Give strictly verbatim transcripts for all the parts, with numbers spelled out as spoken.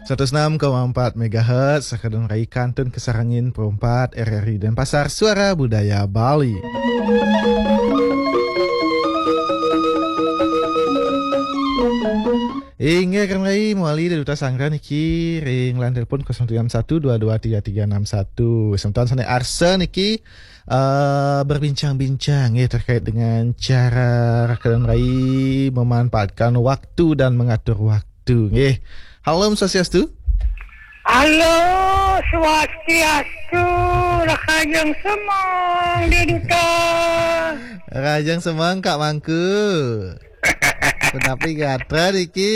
Seratus enam koma empat megahertz, Raka dan Rai kantun kasarengin perempat R R I Denpasar, Suara Budaya Bali. Inggih, Raka dan Rai, mawali ring duta sanggra niki ring line telepon kosong tujuh enam satu dua dua tiga tiga enam satu. Semeton sané arsa niki eh, berbincang-bincang ya terkait dengan cara Raka dan Rai memanfaatkan waktu dan mengatur waktu. Nggih. Halo, Om Swastiastu. Halo, Swastiastu, Rahajeng Semeng, Dé Duta. Rahajeng Semeng, Kak Mangku. Punapi gatra niki?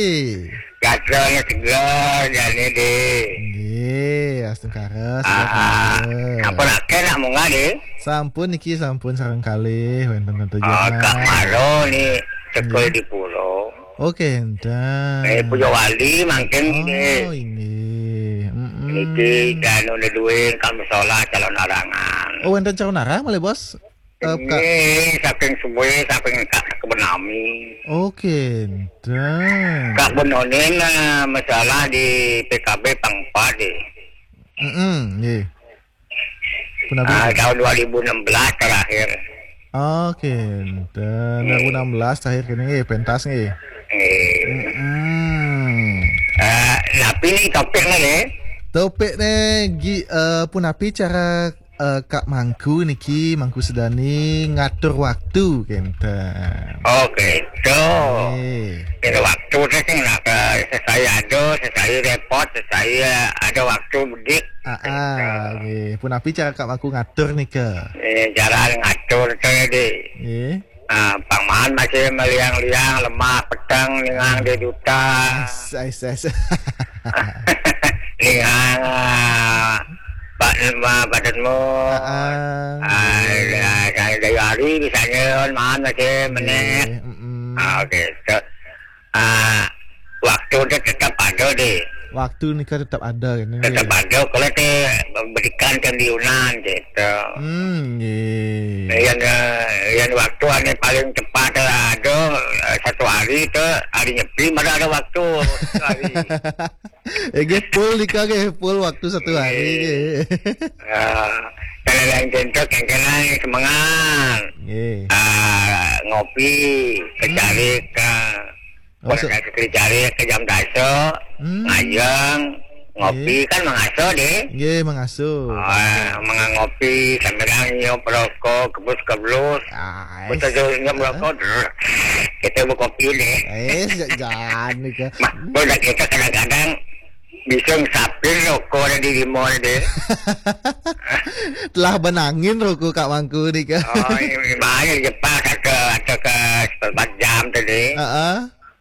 Gatranya seger, jani, Dé. Nggih, astungkara, seger. Ah, ah. Sampun akéh nak munggah, Dé? Sampun niki, sampun sareng kalih, wénten Tante Oh, Jana. Kak Maro ni cekel Nggih. Di pulau. Oh, kénten. Eh, Puja Wali mangkin, Dé. Oh, inggih. Mm-mm. Niki, anu, duduén ka musala Calonarang. Oh, wénten Calonarang malih, Bos? Eh, Kak. Nggih, saking subuh, saking Kak Kebon nami. Oh, kénten. Kak Benonin, eh, masalah di P K B pang empat, eh. Mm-mm, nggih. Punapi? Ah, tahun dua ribu enam belas terakhir. Oh, kénten. Nggih. Dua ribu enam belas terakhir kéné nggih, pentas nggih. Nggih. Mm-mm. Eh, napi ni topiknya, nggih? Topiknya, gi-, eh, punapi cara eh, Kak Mangku niki, Mangku Sedani ngatur waktu, kénten. Oh, gitu. Eh. Ngatur waktu téh sing nak, eh, sesawi ada, sesawi repot, sesawi, eh, ada waktu bedik. Ah, ah, gitu. Nggih. Punapi cara Kak Mangku ngatur nika? Eh, cara ngatur téh, Dé. Nggih. Ah, pang maan masih maliang-liang, lemah, peteng, ningang Dé Duta. Ais, ais, ais. Ningang, ah, ba-, ma-, badanmu. Ah, ah, ah, nggih. Ya, saya dari hari misalnya, maan masih Nggih, menit. Mm-mm. Ah, oke. So, ah, waktu dia tetap ada, Dé. Waktu nika tetap ada, kéné, Tetap nggih. Ada. Kalau téh bedikan kan di Yunan, gitu. Hmm, nggih. Yang, eh, yang waktu anu paling cepat, eh, ada, eh, satu hari itu, hari Nyepi, mana ada waktu, satu hari. Eh, nggih, full nika, nggih, full waktu satu hari, Nggih. Nggih. Ah, kalau yang contoh, kéngkénang semengan. Nggih. Ah, ngopi, Hmm. Kecari ka Oh, so- Pada saat kecari ke jam dasa, Hmm. ngajeng, ngopi Nggih. Kan mangasuh, Dé. Nggih, mangasuh. Ah, mangasuh ngopi, sambil nyium rokok, kebus-kebus. Ah, Betul eh. Nyium rokok, drrr. Kita berkopi, Dé. Eh, ja-, jangan nika. Mah, udah kita kadang-kadang bisa ngesapin rokok ada di limau, Dé. Telah benangin rokok Kak Mangku nika. Oh, ini bahaya Jepang, atau ke, atau ke seperempat jam tadi. Heeh.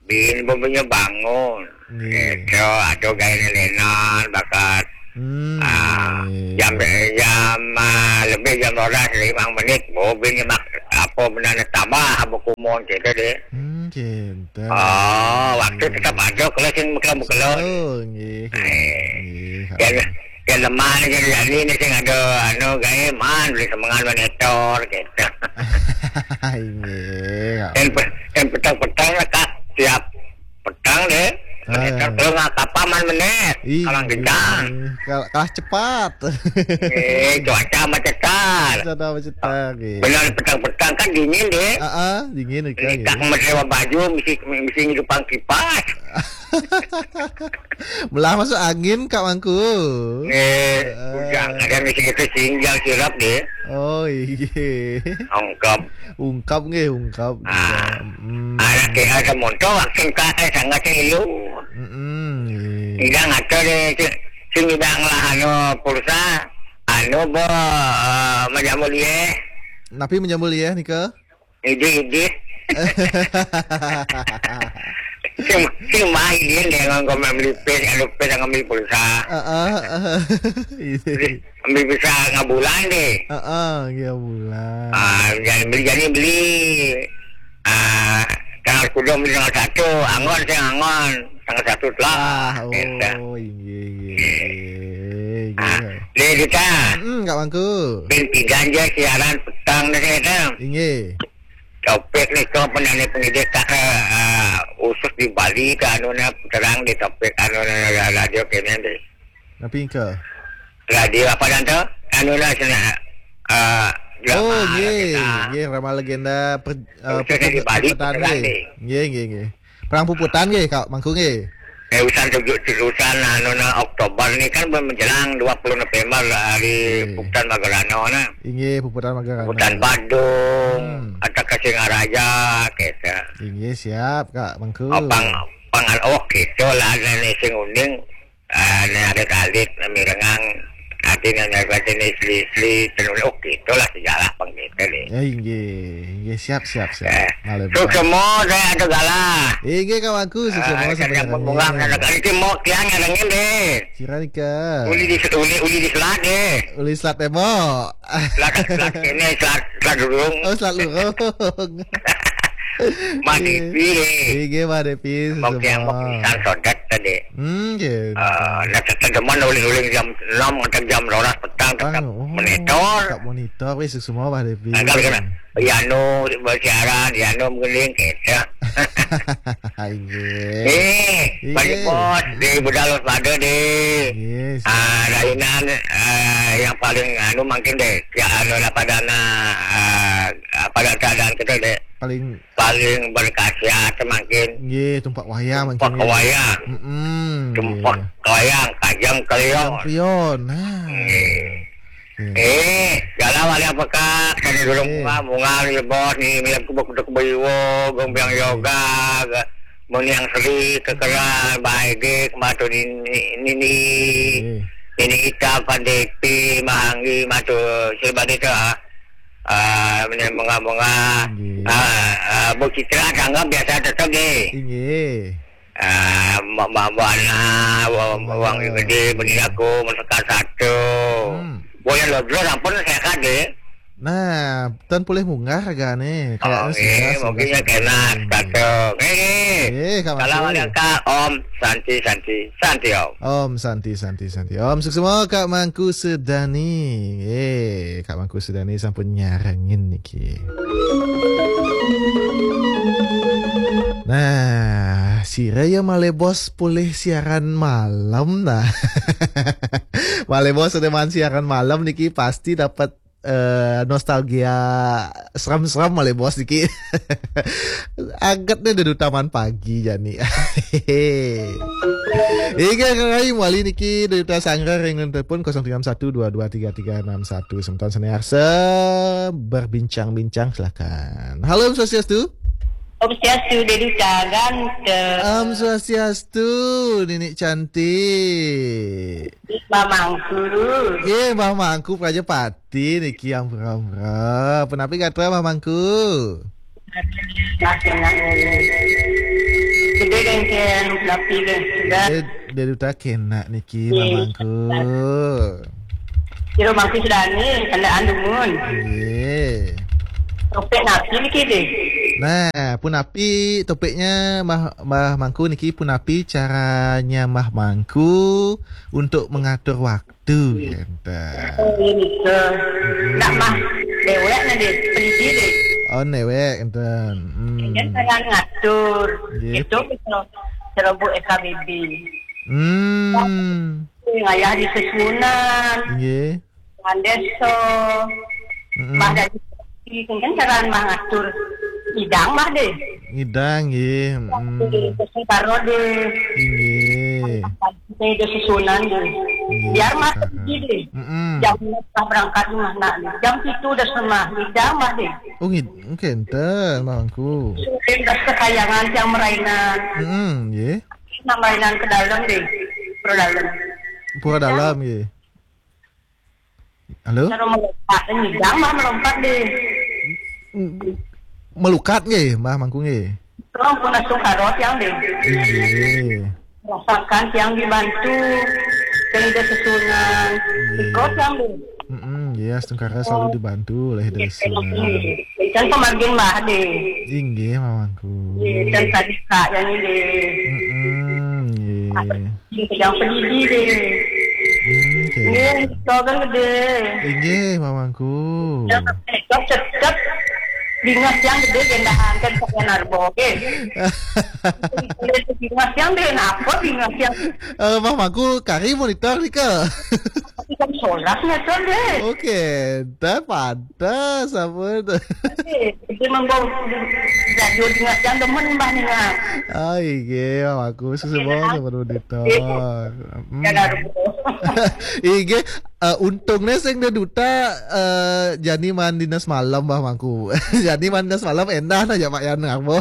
Bin bomnya bangun. Nggih. Gitu, aduh gaya lenan bakat. Hmm, Ah, nggih. Jam, jam, ah, lebih jam dua belas, lima menit, bobin mak-, apa benar tambah, apa kumon gitu deh. Hmm, gitu. Oh, waktu tetap ada, kalau sing mekelo-mekelo. Oh, nggih. Eh, Nggih. Yang, yang lemah ni, jadi ni, ni sing ada, anu, gaya man, beli semengan monitor, gitu. Nggih. Yang pe-, yang petang-petang lah, Kak, tiap petang deh. Ah. Kalau nggak kapal, man menit. Ih, kalah kencang. Kal-, kalah cepat. Eh, cuaca macet kan. Cuaca macet kan, nggih. Benar petang-petang kan dingin deh. Ah, ah, dingin, Kak, nggih. Kak, mesra baju, mesti, mesti ngidupan kipas. Melah masuk angin, Kak Mangku. Eh, ah. Ujang, ada mesti kita singgah sirap deh. Oh, iya. Ungkap. Ungkap nggih, ungkap. Ah. Hmm. Anak kita ada motor, waktu ka, eh, sangat sing ilu. Mm-mm, iya. Tidak ngatur deh, si, si midang lah, anu, pulsa, anu, bo, eh, menjamur dia. Napi menjamur dia, nika? Ide, ide. Sing, sing main dia, dia ngomong melipis, anu, pis, ngambil pulsa. Heeh, heeh. Iya. Ambil bisa ngabulan deh. Heeh, iya, bulan. Ah, jadi beli, jadi beli. Ah, tanggal sepuluh beli tanggal satu, anggon sing anggon. Tanggal satu telah. Ah, oh, inggih, inggih, inggih. Ah, deh, kita. Mm, Kak Mangku. Bin pidan je siaran petang deh, kita. Inggih. Topik nih, kok penyanyi pendidik tak, eh, eh, khusus di Bali, ke anu na terang di topik anu na radio kene deh. Napi ke? Radio apa dan tu? Anu na sana, eh, Oh, drama nggih, kita. Nggih, drama legenda per, eh, Khususnya di Bali, perpetan, perpetan nggih. Deh. Nggih, nggih, nggih. Perang Puputan nggih, Kak Mangku nggih. Eh, urusan tujuh, urusan anu na Oktober ni kan menjelang dua puluh November hari Nggih. Puputan Magarana na. Inggih, Puputan Magarana. Puputan Badung, Hmm. atau ke Singaraja, kita. Inggih, siap, Kak Mangku. Oh, pang, pangan, oh, gitu lah, nenek sing uning, ah, ne ada kalit, ne mirengang, ati nenek baca ne isli-isli, tenun, oh, gitu lah, sejarah pang gitu deh. Ya, inggih, inggih, siap, siap, siap. Eh, Malih, Pak. Suksema, saya ada galah. Inggih, Kak Mangku, suksema Ah, sampai saya pun bunga, ngarangin. Anak kali itu mau kian ngarangin deh. Sira nika. Uli di, uli, uli di selat deh. Uli selat tembok. Selat, selat kene, selat, selat lurung. Oh, selat lurung. Mah Devi deh. Inggih, Mah Devi, Mau kian, mau suksema. Pisan sodat tadi. Hmm, nggih. Eh, nak tetedeman uling-uling jam enam atau jam rolas petang tetap Pang, oh, monitor. Tetap monitor, wis suksema, Mah Devi. Nah, kalau kena, Yano bersiaran, Yano menggiling, gitu. Inggih. Eh, Inggih. Bos, di budal pada deh. Yes. Ah, rainan, ah, yang paling anu mungkin deh, ya anu lah pada na, ah, pada keadaan kita deh. Paling Paling berkhasiat mungkin. Nggih, tumpak wayang mungkin, Tumpak nggih. Wayang. Mm-mm, Tumpak nggih. Wayang, kajang kelion. Kajang kelion, nah. Nggih. Nggih. Eh, galah wali apa, Kak? Kami dulu Nggih. Bunga, bunga, ni bos, ni, ni aku bakuduk bayiwo, gombiang Nggih. Yoga, ga-, meniang seri, kekeran, baik, matu nini, nini. Nggih. Nini Ita, Pak Depi, Mahanggi, matu, sebab itu, ah. Ah, meniang bunga-bunga. Nggih. Ah, ah, Bu Citra, tangga biasa tetap, nggih. Nggih. Ah, Mbak, Mbak Buana, Wang, Mbak Wang Buana. Gede, bini aku, masakan satu. Hmm. Boyan Lodro, ampun, sehat, deh. Nah, tan pulih munggah ragane. Kayaknya Oh, sudah, iya, sudah, mungkin ya sudah. Kena, Hmm. Satu. Eh, Eh, Kak Salam Mangku. Ada Kak, Om Santi, Santi, Santi, Om. Om Santi, Santi, Santi. Om, suksema Kak Mangku Sedani. Eh, Kak Mangku Sedani sampun nyarengin niki. Nah, sira ya malih bos pulih siaran malam nah. Malih bos teman siaran malam niki pasti dapat, eh, nostalgia seram-seram malih bos niki. Aget nih duduk taman pagi jani. Inggih, Kang Rahim, wali niki duduk sanggar dengan telepon kosong tiga enam satu dua dua tiga tiga enam satu. Semeton sane arsa berbincang-bincang, silakan. Halo, Om Swastiastu. Om Swastiastu, Deduca ganteng. Om Swastiastu, Nini cantik. Mamangku. Nggih, Mamangku Prajapati niki ampura-ampura. Punapi gatra Mamangku? Masih nak ngene. Gede gengken, tapi geng sudah. Dede, Dede Uta kena niki, Nggih. Mamangku. Kira mangku sudah ni, kena andumun. Nggih. Topik napi niki deh? Nah, punapi topiknya Mah, Mah Mangku niki punapi caranya Mah Mangku untuk mengatur waktu, enten. Oh, iya, betul. Mm-mm. Nak mah dewek nih, deh, pelidi deh. Oh, dewek, enten. Hmm. Kan saya ngatur. Nggih. Itu betul. Ceroboh S K B B. Hmm. Ngayah di sesuunan. Nggih. Dengan desa. Mm-mm. Mah dari kan cara mah ngatur. Idang mah deh. Ngidang, nggih. Mm-mm. Waktu di Sentaro deh. Nggih. Saya di sesuunan deh. Nggih, Biar mah sekarang. Pergi deh. Mm-mm. Jam empat berangkat rumah nak. Jam tujuh udah semah. Idang mah deh. Oh, ngid-, kenten, Mangku. Sudah kesayangan yang merainan. Mm-mm, nggih. Nah, mainan ke dalam deh. Pro dalam. Pura dalam, nggih. Halo? Kalau melompat, ini idang mah melompat deh. Melukat nggih, Mah Mangku nggih? Tolong pun langsung karot yang deh. Nggih. Rasakan yang dibantu. Yang ada sesuunan. Nggih. Ikut yang deh. Mm-mm, nggih, astungkara selalu dibantu oleh Ida Sunan. Kan pemagin mah deh. Inggih, Mah Mangku. Nggih, kan tadi Kak yang ini deh. Mm-mm, nggih. Yang pedidi deh. Hmm, oke. Nggih, sogan gede. Inggih, Mah Mangku. Yang cekap, cekap. Bingah siang gedé gendahan kan, sakian arbo, oke. Bingah siang deh, napa bingah siang? Eh, Bah Mangku, kari monitor nika. Tapi kan solas meter deh. Oke, dah pantas apa tu? Oke, jadi membawa radio bingah siang demen, Bah, ningan. Ah, inggih, Bah Mangku, suksma sama monitor. Hmm. Kan arbo. Inggih, eh, untungnya sing ada duta, eh, jani maan dina semalam, Bah Mangku. Jani maan dina semalam endah na ja Pak Yan arbo.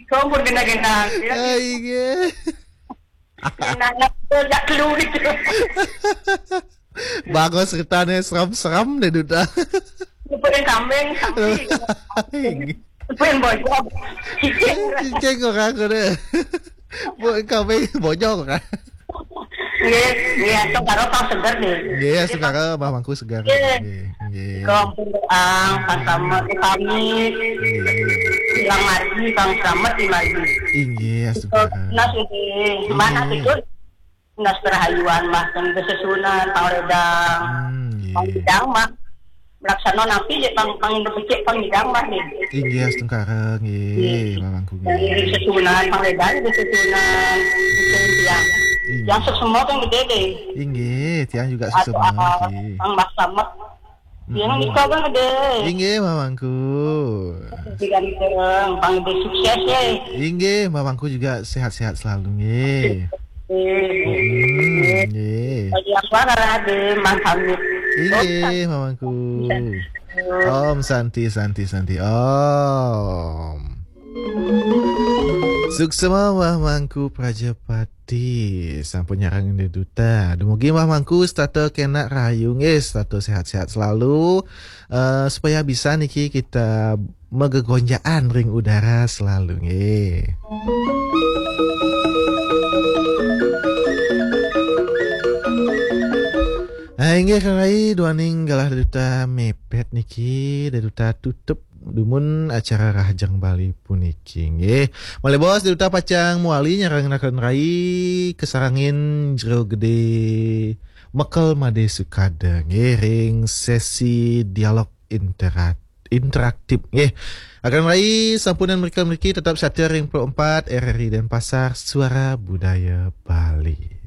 Kompor genah-genah, ya. Ai, ge. Genah, genah, jak lu gitu. Bagus ceritanya, seram-seram deh, duta. Lupain kambing, kambing. Ai. Lupain bojog. Cicing. Cicing orang kena. Bukan kambing, bojog orang. Nggih, nggih, astungkara pang seger nggih. Nggih, astungkara Bah Mangku seger. Nggih. Nggih, nggih. Ika ampun doang, pas sama kami. Nggih. Silang margi, pang selamat di margi. Inggih, astungkara. Nas nggih. Mana nggih. Itu? Nas kerahayuan mah, yang kesesunan, pangledang. Hmm, nggih. Pangledang mah. Melaksana napi, je pang, pang becik, pang hidang mah nggih. Inggih, astungkara nggih, Nggih. Mamangku nggih. Ngiring sesunan, pangledang di sesunan, itu tiang. Inggih. Tiang suksma kan gedé deh. Inggih, tiang juga suksma nggih. Pang maksamat. Tiang Mm-mm. Nika kan gedé. Inggih, Mamangku. Jadi ganteng, pang gedé sukses ya. Inggih, Mamangku juga sehat-sehat selalu nggih. Nggih. Hmm, nggih. Bagi apa Raden Mang Hamid? Inggih, Mamangku. Om Santi, Santi, Santi. Om. Suksma Bah Mangku Prajapati. Sampun nyarengin duta. Dumugi Bah Mangku setata kena rahayu nggih, setata sehat-sehat selalu. Eh, supaya bisa niki kita megegonjaan ring udara selalu nggih. Ah, inggih Kang Rai, duaning galah duta mepet niki, duta tutup dumun acara Rahajeng Bali puniki nggih. Malih bos duta pacang muali nyarengin Kang Rai kasarengin Jero Gedé Mekel Madé Sukada nggih ring sesi dialog interak-, interaktif nggih. Kang Rai sampunang mrika mriki tetap setia ring puluh empat R R I Denpasar, Suara Budaya Bali.